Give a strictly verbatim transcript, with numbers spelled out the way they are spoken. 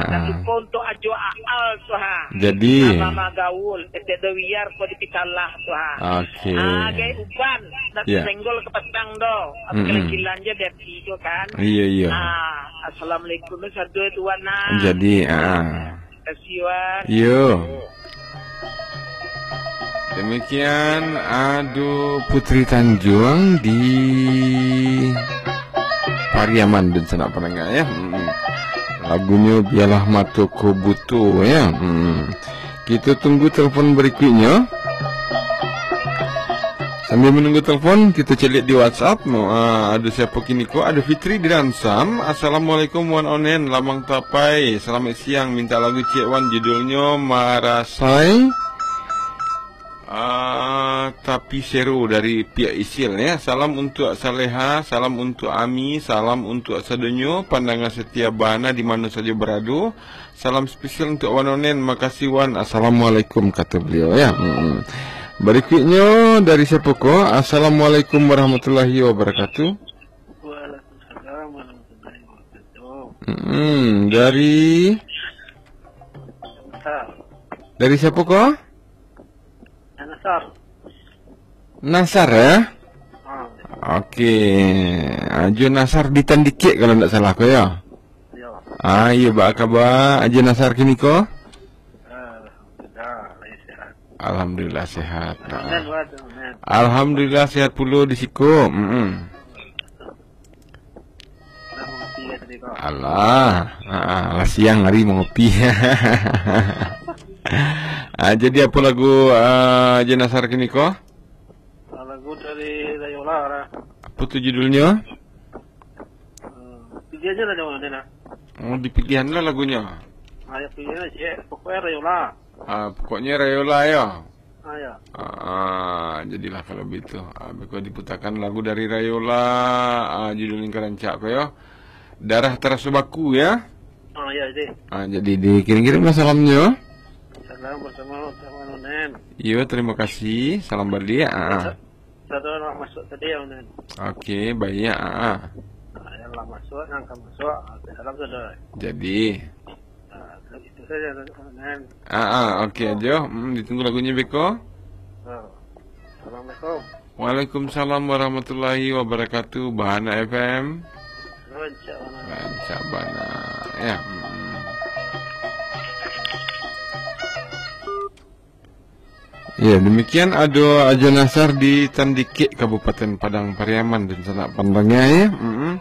Nak Ah. suko untuak Ajo Aal tu, ha. Jadi. Mama Gaul, Etek Dowiar ko di Pitalah tu, ha. Oke. Ah, gai uban, nak Ya. senggol ka patang do. Apa Mm-mm. kilan-kilan je biar tigo kan. Iya, iya. Ah, assalamualaikum tu satu tuan nah. Jadi, ah. Terima kasih, Wan. Yo. Demikian Adu Putri Tanjuang di Pariaman dan sanak pandanga ya. Mm-mm. Lagunyo Biarlah Mato Ko Buto ya. Mm-mm. Kita tunggu telepon berikutnya. Sambil menunggu telepon, kita cek lihat di WhatsApp. Ah, ada siapa kini ko? Ada Fitri di Dansam. Assalamualaikum Wan Onen, Lamang Tapai. Selamat siang, minta lagu ciek Wan, judulnyo Marasai. Ah, tapi seru dari pihak Isil ya. Salam untuk Saleha, salam untuk Ami, salam untuk sadonyo pandanga setia Bahana di mana saja berado. Salam spesial untuk Wan Onen. Makasih Wan. Assalamualaikum kata beliau ya. Mm-mm. Berikutnya dari siapa ko? Assalamualaikum warahmatullahi wabarakatuh. Waalaikumsalam warahmatullahi wabarakatuh. Mm-mm. Dari Nasar. Dari siapa ko? Nasar. Nasar ya? Ah, Oke. Ajo Nasar di Tandikek kalau ndak salah ko ya. Yo. Ah, iya, ba kaba Ajo Nasar kini ko? Alhamdulillah, lahir sehat. Alhamdulillah sehat. Nah. Alhamdulillah sehat pulo di siko. Mm-mm. Alah, ah, lah siang hari mangopi. Ah, jadi apa lagu ah, Ajo Nasar kini ko? Ah, lagu dari Rayola lah. Apa tu judulnya? Hmm, pilih aja lah, jangan ada lah. Oh, dipilihan lah lagunya. Ah, ya, pilih aja. Pokoknya Rayola. Ah, pokoknya Rayola ya. Ah, ya. Ah, jadilah kalau begitu. Ah, beko diputakan lagu dari Rayola, ah, judul yang karancak ko ya. Darah Tarasa Baku ya. Ah, ya, jadi. Ah, jadi dikirim-kirimlah salamnya. Salam bersama Wan Onen. Iyo, terima kasih. Salam balik. Ah. Satu lah masuk tadi ya, Wan Onen. Oke, baik. Ah. Ah, yang lah masuk, yang akan masuk. Ah, salam sudah. Jadi. Ah, itu saja, Wan Onen. Ah, ah, oke aja. Hmm, ditunggu lagunya beko. Ah. Assalamualaikum. Waalaikumsalam warahmatullahi wabarakatuh. Bahana F M. Rancak bana. Rancak bana. Ya. Hmm. Ya, demikian ado Ajo Nasar di Tandikek, Kabupaten Padang Pariaman, dan sanak pandanga ya. Mm-mm.